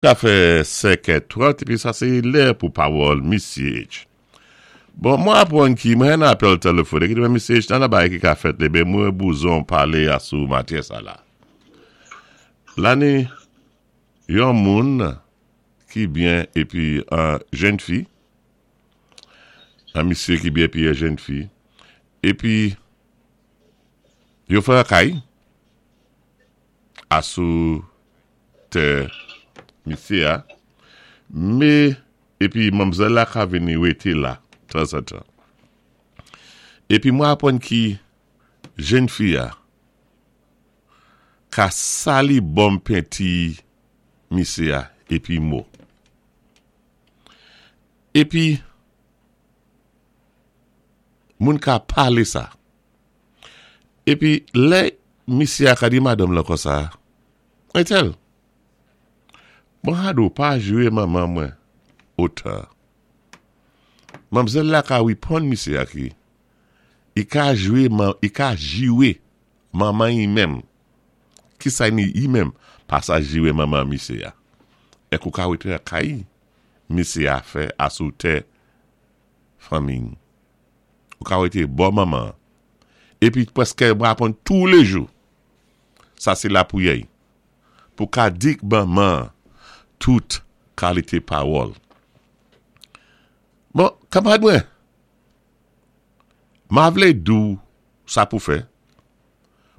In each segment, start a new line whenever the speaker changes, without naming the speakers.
Ka fè 5 è 30 epi sa se lè pou pawòl Misye H. Bon, mwen apwann ki mwen nan apèl telefonik epi Misye H nan nan bagay ki ka fèt lebe mwen bouzon pale a sou matyè sa la. Lane yon moun ki byen epi an jenn fi, an misye ki byen epi an jenn fi, epi yo fè an kay a sou tè misye a, me epi manmzèl la ka vini rete la tanzantan. Epi mwen aprann ki jenn fi a ka sali bonm penti misye a epi mo. Epi moun ka pale sa. Epi lè misye a ka di madanm lan konsa, Entèl, bon Hado pa jwe manman mwen otan. Manmzèl la ka reponn misye a ki i ka jwe i ka jiwe manman i menm. Kisa ni i menm pa sa jiwe manman misye a. Èk ou ka wete nan kay misye a fè a sou tè fanmi. Ou ka wete bò manman an. Epi prèske mwen aprann toulejou. Sa se lapriyè pou ka di k manman an tout kalite pawòl. Bon, kanmarad mwen, ma vle di w sa pou fè.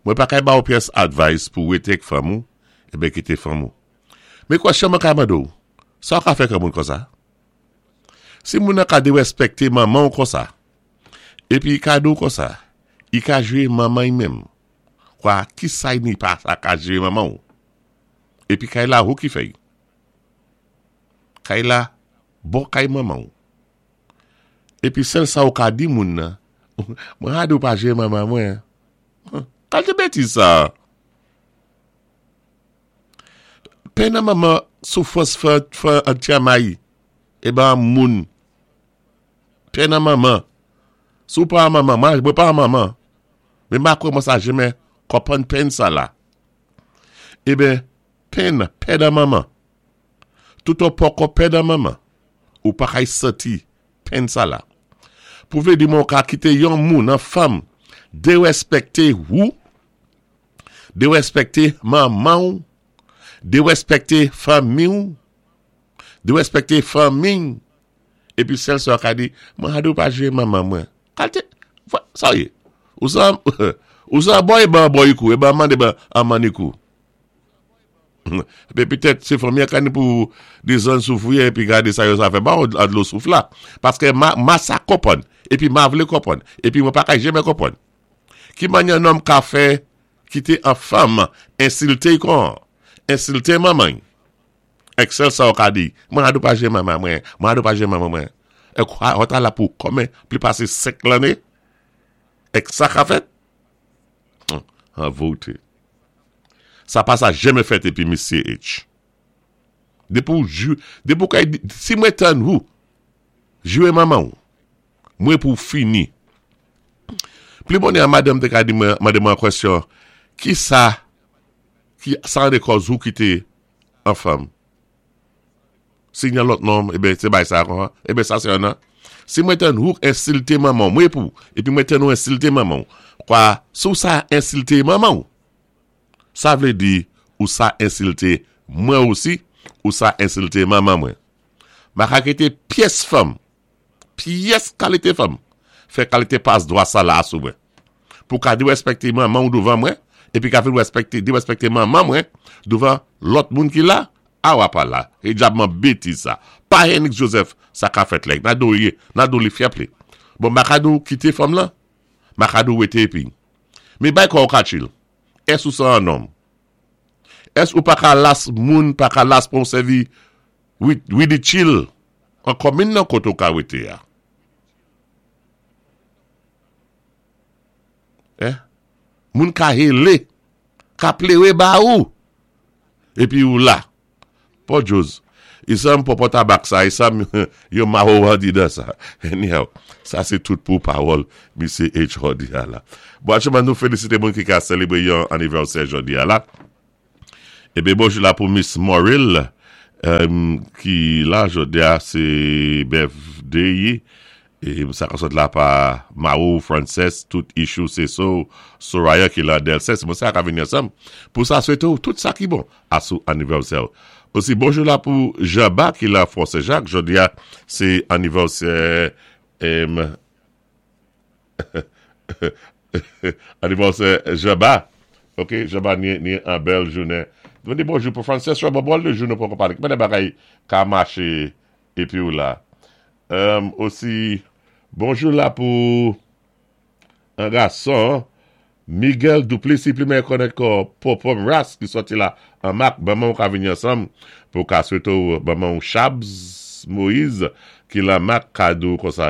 Mwen pa kay ba w pyès advice pou rete k fanm ou, eben kite fanm ou. Men kwèsyon mwen ka mande w, sa w ka fè k moun konsa? Si moun nan ka derèspèkte manman w konsa, epi i ka di w konsa, i ka jwe manman i menm. Kwa kisay ni pa sa ka jere manman w epi kay la hou ki fèy kay la bò kay manman w epi sèl sa ou ka di moun nan mwen rade ou pa jere manman mwen kalte betiz sa pè nan manman soufrans fè fè antyamay e ba moun pè nan manman si w pa manman mwen pa manman. Men ma kwè mwen sa jemè konprann penn sa la. Eben, penn, pè dan manman. Tout an poko pè dan manman, ou pa kay santi penn sa la. Pou vle di mwen ou ka kite yon moun, an fanm, derèspèkte ou, derèspèkte manman ou, derèspèkte fanmi ou, derèspèkte fanmi ou, epi sèl sa ou ka di, mwen a di ou pa jwe manman mwen. Kalte, sa w ye? Ou san, ou san bò e ban bò ikou, e ban mande ban an mann ikou. Epi petèt se fanmi an ka ni pou dezann sou fouye epi gade sa yo sa fè ba ou an dlo souf la. Paske ma, ma sa konprann, epi ma vle konprann, epi mwen pa ka jeme konprann. Ki manyè nonm ka fè kite an fanm ensilte y kon, ensilte manman y. Excel sa ou ka di, mwen a do pa jwe manman mwen, mwen a do pa jwe manman mwen. Ek ou ta la pou komen pli pase 5 lanne? Ek sa ka fèt? An vote. Sa pa sa jeme fèt epi misye H. Depi ou jwe, depi ou kay, si mwen tann ou, jwe manman ou, mwen pou fini. Pli bonè a madanm te ka di mwen, mande mwen an kwestyon, ki sa, ki sa an de kòz ou kite an fanm. Si gen lòt nonm, eben se bay sa kon. Eben sa se yon nan. Si mwen tann ou ensilte manman w, mwen pou, epi mwen tann ou ensilte manman w. Kwa, si w sa ensilte manman w, sa vle di ou sa ensilte mwen osi, ou sa ensilte manman mwen. Ma ka kite pyès fanm Pyès kalite fanm fè kalite pas dwa sa la a sou mwen. Pou ka derespekte manman w douvan mwen, epi ka vin respekte, derespekte manman mwen douvan lòt moun ki la, a wa pa la. E dyabman betiz sa. Pa Henix Joseph sa ka fèt lè. Na do ye, na do li fyèp li. Bon ma ka di w kite fanm lan, ma ka di w wete epi. Men bay kò w ka chill. Ès ou san an nonm? Ès ou pa ka las moun pa ka las pran w sèvi Wi li chill. An kòmin nan kote ou ka wete a. Eh moun ka hele, ka plere ba ou. Epi ou la. Paul Joz, isam pòpò tabak sa, isam yon mawowan di dan sa. Anyhow, sa se tout pou pawòl misye H. Jodi a la. Bon, aktyèlman nou felisite moun ki ka selebre yon anivèsè jodi a la. Ebe bonjou la pou Miss Moril. Ki la jòdi-a sé birthday yi é sa ka sot la pa Maro Frances tout Ishou Seso Soraya ki la Delses moun sa ka vini ansanm pou sa swété-w tout sa ki bon asou anivèsè-w. Osi bonjou la pou Janba ki la Fò Senjak jòdi-a sé anivèsè Anivèsè Janba ok Janba ni an bèl jounen. Mwen di bonjou pou Frances Robert bon de jou nou poko pale ki mannè bagay ka mache epiw la osi bonjou la pou an gason Miguel Duplessis plimen konnen kò Popom Ras ki sòti la an mak manmanw ka vini ansanm pou ka swete w manmanw Chabs Moise ki lan mak ka di w konsa.